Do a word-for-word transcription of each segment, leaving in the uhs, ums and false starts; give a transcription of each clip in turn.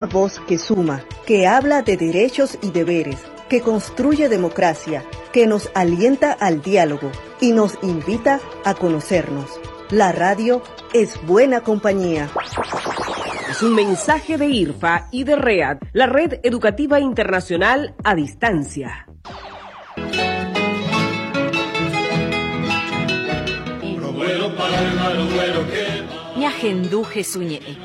Voz que suma, que habla de derechos y deberes, que construye democracia, que nos alienta al diálogo y nos invita a conocernos. La radio es buena compañía. Es un mensaje de IRFA y de READ, la Red Educativa Internacional a Distancia. Ñahendu Jesús ñe'ẽ.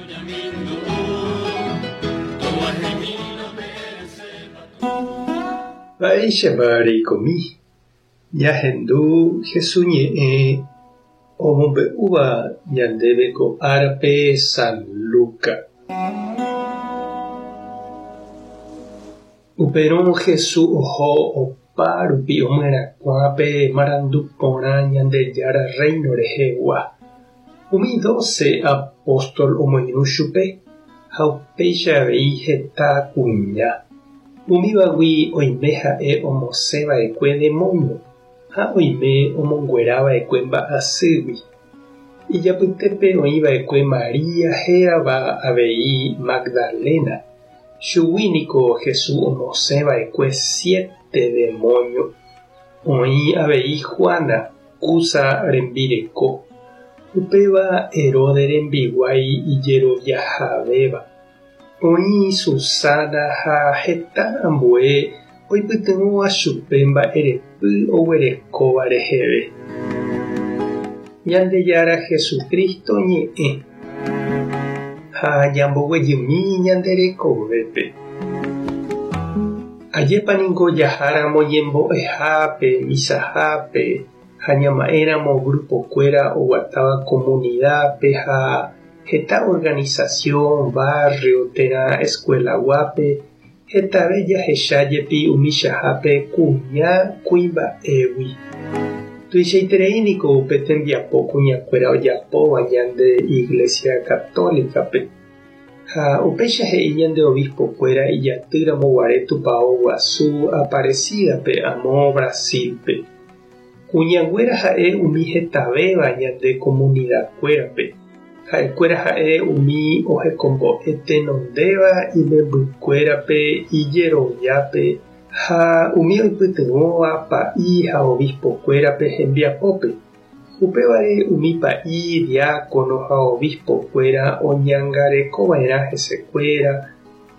Mba'éichapa reikomi. Ñahendu Jesús ñe'ẽ omombe'úva ñandéve ko árape San Luca. Upérõ Jesús oho opárupi omyerakuãpe marandu porã Ñandejára reino rehegua. Umi doce apóstol omoirũ chupe ha upéicha avei heta kuña. Umívagui oime ha'e omosẽva'ekue demonio ha oime omonguerava'ekue mba'asýgui. Ijapytépe oĩva'ekue María hérava avei Magdalena. Chugui niko Jesús omosẽva'ekue siete demonio. Oĩ avei Juana, Cuza rembireko. Upéva Herodes rembiguái ijeroviahavéva. Oĩ Susana ha heta ambue oipytyvõva chupe mba'erepy oguerekóva reheve. Ñandejára Jesucristo ñe'ẽ ha ñamboguejymi ñande rekovépe. Ajépa niko jaháramo ñembo'ehápe, misahápe ha ñama'ẽramo grupokuéra oguatáva comunidad-pe ha heta organización, barrio térã escuela-guápe hetave jahecha jepi umichahápe kuña kuimba'égui. Tuichaiterei niko upe tembiapo kuñakuéra ojapóva ñande Iglesia Católica-pe. Ha upéicha he'i ñande obispo-kuéra ijatýramo guare tupão guasu Aparecida-pe amo Brasil-pe. Kuñanguéra ha'e umi hetavéva ñande comunidad-kuérape. Ha'ekuéra ha'e umi ohekombo'e tenondéva imembykuérape ijeroviápe ha umi oipytyvõva pa'i ha obispo-kuérape hembiapópe. Upévare umi pa'i, diácono ha obispo-kuéra oñangarekova'erã hesekuéra,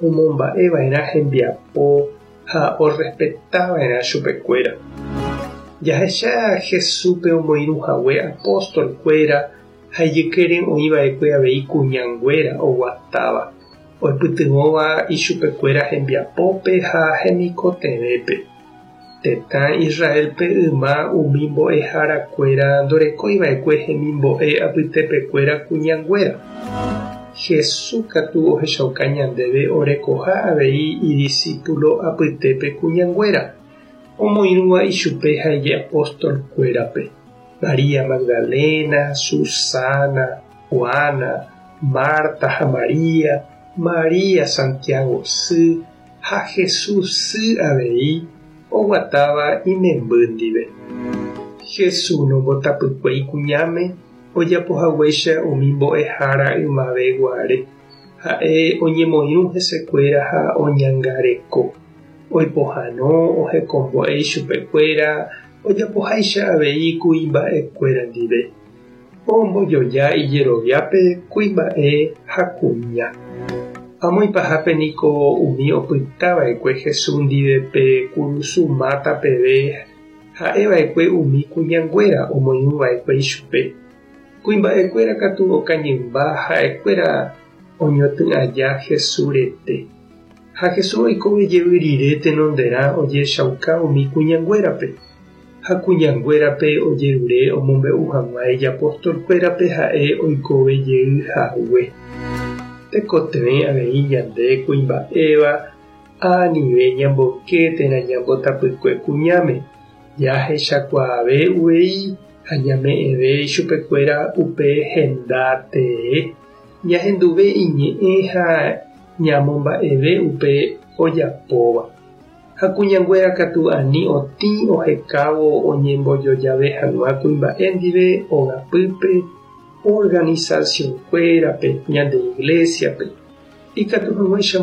omomba'eva'erã hembiapo ha orespetava'erã chupekuéra. Jahecha Jesúspe omoirũhague apóstol-kuéra ha ijykére oĩva'ekue avei kuñanguéra oguatáva, oipytyvõva ichupekuéra hembiapópe ha hemikotevẽpe. Tetã Israelpe yma umi mbo'eharakuéra ndorekóiva'ekue hemimbo'e apytepekuéra kuñanguéra. Jesús katu ohechauka ñandéve orekoha avei idiscípulo apytépe kuñanguéra, omoirũva ichupe ha ijapóstol-kuérape. María Magdalena, Susana, Juana, Marta ha María, María Santiago sy ha Jesús sy avei oguatáva imemby ndive. Jesús nombotapykuéi kuñáme ojapohaguéicha umi mbo'ehára ymave guare. Ha'e oñemoirũ hesekuéra ha oñangareko. Oipohãno ohekombo'e ichupekuéra ojapoháicha avei kuimba'ekuéra ndive. Ombojoja ijeroviápe kuimba'e ha kuña. Amo ipahápe niko umi opytava'ekue Jesús ndive pe kurusu máta peve ha'eva'ekue umi kuñanguéra omoirũva'ekue ichupe. Kuimba'ekuéra katu okañymba ha'ekuéra oñotỹ aja Jesús rete. Ha Jesús oikove jey rire tenonderã ojechauka umi kuñanguérape. Ha kuñanguérape ojerure omombe'u hag̃ua ijapóstol-kuérape ha'e oikove jey hague. Tekotevẽ avei ñande kuimba'éva anive ñamboyke térã ñambotapykue kuñáme. Jahechakuaave uvei ha ñame'ẽve ichupekuéra upe henda tee. Ñahenduve iñe'ẽ ha ñamomba'eve upe ojapóva. Ha kuñanguéra katu ani otĩ ohekávo oñembojojave hag̃ua kuimba'e ndive ogapýpe, organización-kuérape, ñande iglesia-pe. Ikatu hag̃uáicha